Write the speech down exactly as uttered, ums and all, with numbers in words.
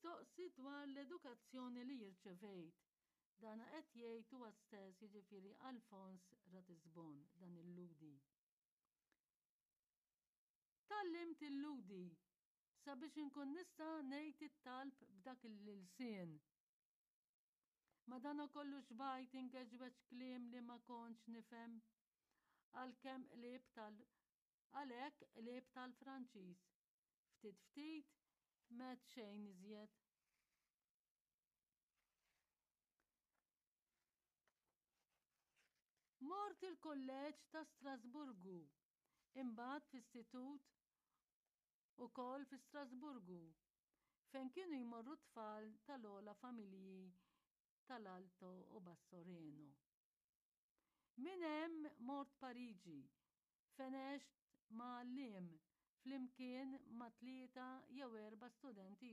Mistoqsi dwar l-edukazzjoni li rċevejt, dan qed jgħid huwa stess, jiġifieri Alfons Ratisbon, dan il-Lhudi. Tgħallimt il-Lhudi sabiex inkun nista' ngħid it-talb b'dak l-ilsien. Madanakollu xbajt ingeġweġ kliem li ma kontx nifhem, għalkemm qlib tal għalhekk qlib tal-Franċiż. Ftit ftit m'għedt xejn iżjed. Mort il-Kulleġġ ta' Strasburgu, imbagħad f'istitut ukoll fi Strasburgu, fejn kienu jmorru t-tfal tal-ogħla familji tal-Alto u Basso Reno. Minn hemm mort Pariġi, fejn għext ma' għalliem flimkien ma' tlieta jew erba' studenti